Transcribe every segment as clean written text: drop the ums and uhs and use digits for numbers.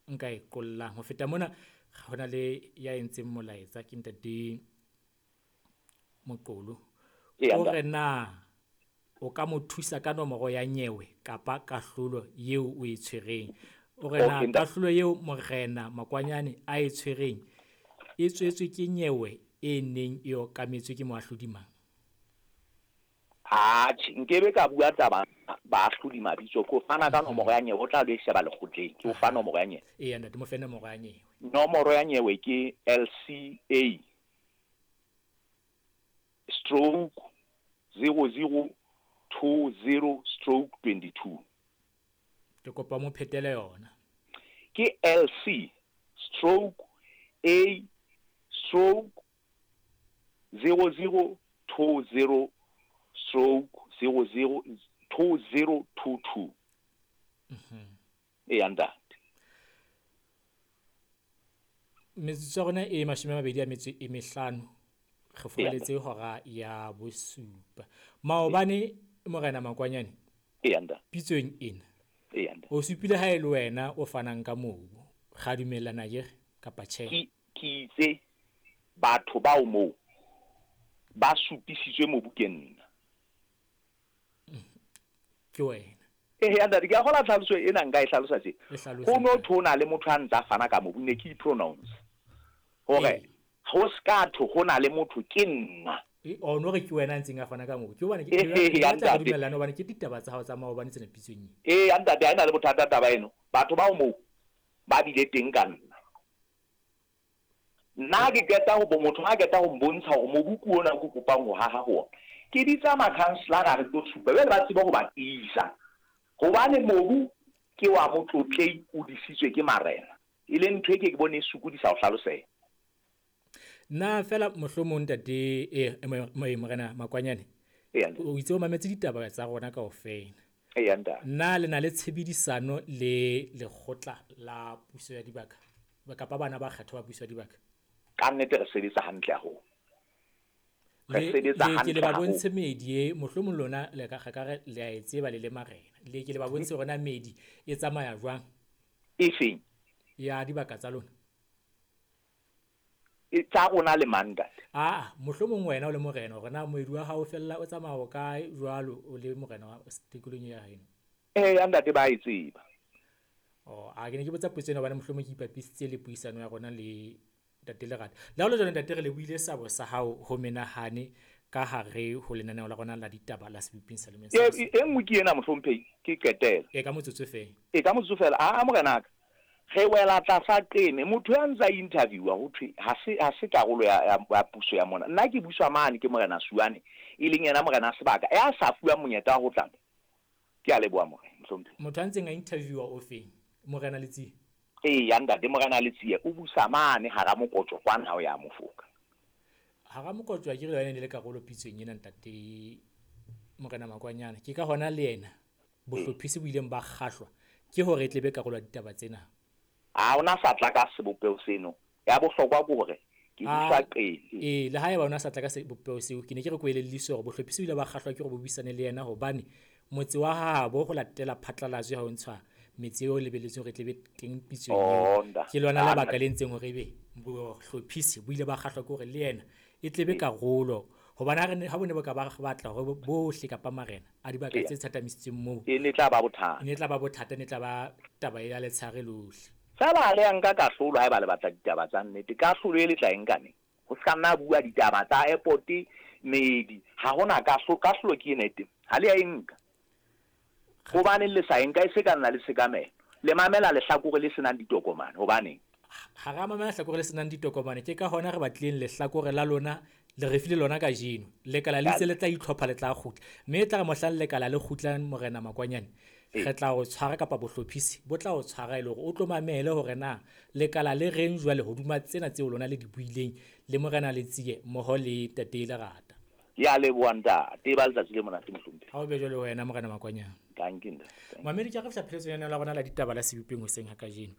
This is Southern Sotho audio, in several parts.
nka e qollang. Ho feta mona, ho na le ya entseng molaetsa ke ntate Moqolo. O re na o ka mo thusa ka nomoro ya nyewe kapa kahlolo eo o e tshwereng. O re na kahlolo eo Morena Makwanyane a e tshwereng e tswetswe ke nyewe e neng e okametswe ke moahlodi mang? Atjhe, nkebe ka bua taba baahlodi mabitso, ke o fana ka nomoro ya nyewe, o tla lo e sheba lekgotleng. Ke o fa nomoro ya nyewe. Eya ntate, mo fe nomoro ya nyewe. Nomoro ya nyewe ke LCA stroke 0020 stroke 22. Ke kopa mo phetele yona. Ke LC stroke A stroke 0020 stroke 002022. Eya ntate. Metsotso ya rona e 25, re furaletse hora ya 7. Maobane Morena Makwanyane, pitsong ena, o supile ha e le wena o fanang ka mobu. Ra dumellana akere kapa tjhe? Ke itse batho bao moo ba supisitswe mobu ke nna. Ke wena. Eya ntate, ke a kgola tlhaloso ena nka e hlalosa tje. Ho no thwe ho na le motho a ntsa fana ka mobu, ne ke i-pronounce. Hore ho ska thwe ho na le motho ke nna. O no re ke wena a ntseng a fana ka mobu. Ke hobane ke batla re dumellane hobane ke ditaba tsa hao tsa maobane tsena pitsong ena. Eya ntate, ha e na le bothata taba eno. Batho bao moo ba bile teng ka nna. Nna ke qeta ho motho ha qeta ho mbontsha hore mobu ke ona o ke kopang ho haha ho ona. Ke bitsa makhanselara re tlo supa jwale ba tsebe ho ba tiisa. Hobane mobu ke wa motlotlei o disitswe ke marena. E leng ntho e ke ke bone e sokodisa ho hlaloseha. Na fela mohlomong ntate Morena Makwanyane, o itse o mametse ditaba tsa rona kaofela. Eya ntate. Na le na le tshebedisano le lekgotla la puso ya dibaka kapa bana ba kgethwa ba puso ya dibaka? Ka nnete re sebetsa hantle haholo. Re sebetsa hantle ke le ba bontshe meedi e, mohlomong lona le ka ka re le a e tseba le le marena. Le ke le ba bontshe hore na meedi e tsamaya jwang. E feng? Ya dibaka tsa lona. E tsa rona le mang ntate? Aa, mohlomong wena o le morena hore na moedi wa hao fella o tsamaya o kae jwalo o le morena wa tikolong ya heno. Eya ntate, ba e tseba. Oh, a ke ne ke botsa potso ena hobane mohlomong ke ipapisitse le puisano ya rona le ntate Lerata. Le ha ho le jwalo ntate, re lebohile sabo sa hao ho menahane ka hare ho lenaneo la rona la ditaba la Seboping sa Lemeng sa E nngwe ke ena mohlomphehi, ke qetela. E ka motsotso fela. E ka motsotso fela. Aa morenaka, re wela tlasa qeme. Motho ya ntsa interviewa ho thwe ha se ha se karolo ya ya puso ya mona. Nna ke buswa mane ke Morena Suane, e leng yena morena sebaka ya sa fuwang monyetla wa ho tla. Ke a leboha morena mohlomphehi. Motho a ntseng a interviewa o feng? Morena Letsie? Eya ntate, Morena Letsie o busa mane hara Mokotjo kwana ha o ya Mofoka. Hara Mokotjo akere le yona e ne le karolo pitsong ena ntate Morena Makwanyane. Ke ka hona le yena bohlophisi bo ileng ba kgahlwa ke hore e tle be karolo ya ditaba tsena. Ha ona sa tla ka sebopeho seno. Ya bohlokwa ke hore ke busa qele. Ee, le haeba ona sa tla ka sebopeho seo, ke ne ke re ko elelliswe hore bohlophisi bo ile ba kgahlwa ke hore bo buisane le yena hobane motse wa habo ho latela phatlalatso ya ho ntshwa metse eo lebelletsweng hore e tle be teng pitsong eo. Ke lona lebaka le entseng hore ebe bohlophisi bo ile ba kgahlwa ke hore le yena e tle be karolo. Hobane ha bo ne bo ka ba batla hore bohle kapa marena a dibaka tse thathamisitsweng moo, e ne tla ba bothata. E ne tla ba bothata, e ne tla ba taba ya letshehare lohle. Feela ha le ya nka kahlolo haeba le batla ditaba tsa nnete. Kahlolo e le tla e nka neng? Ho se ka nna bua ditaba tsa airport, meedi, ha hona kahlolo. Kahlolo ke ena e teng. Ha le ya e nka. Hobaneng le sa e nka? E se ka nna le tshekamelo. Le mamela lehlakore le senang ditokomane. Hobaneng? Ha ra mamela lehlakore le senang ditokomane. Ke ka hona re batlileng lehlakore la lona, le re file lona kajeno. Lekala le itse le tla itlhopha, le tla kgutla. Mme e tla re mohlang lekala le kgutlang Morena Makwanyane, re tla o tshwara kapa bohlophisi bo tla o tshwara e le hore o tlo mamele hore na lekala le reng jwale hoduma tsena tseo lona le di buileng le Morena Letsie mmoho le Ntate Lerata. Ke a leboha ntate, ba letsatsi le monate mohlomphehi. Ha o be jwale wena Morena Makwanyane. Dankie ntate. Mamedi, ke a re fihla pheletsong ya lenaneo la rona la ditaba la Sebopeng hoseng ha kajeno.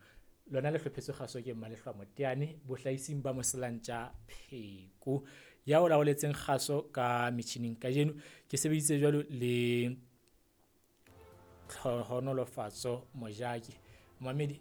Lona le hlophetswe kgaso ke Mmalehloa Moteane, bohlahising ba Moselantja Pheko. Ya o laoletseng kgaso ka metjhining kajeno ke sebeditse jwalo le Tlhohonolofatso Mojaki. Mamedi.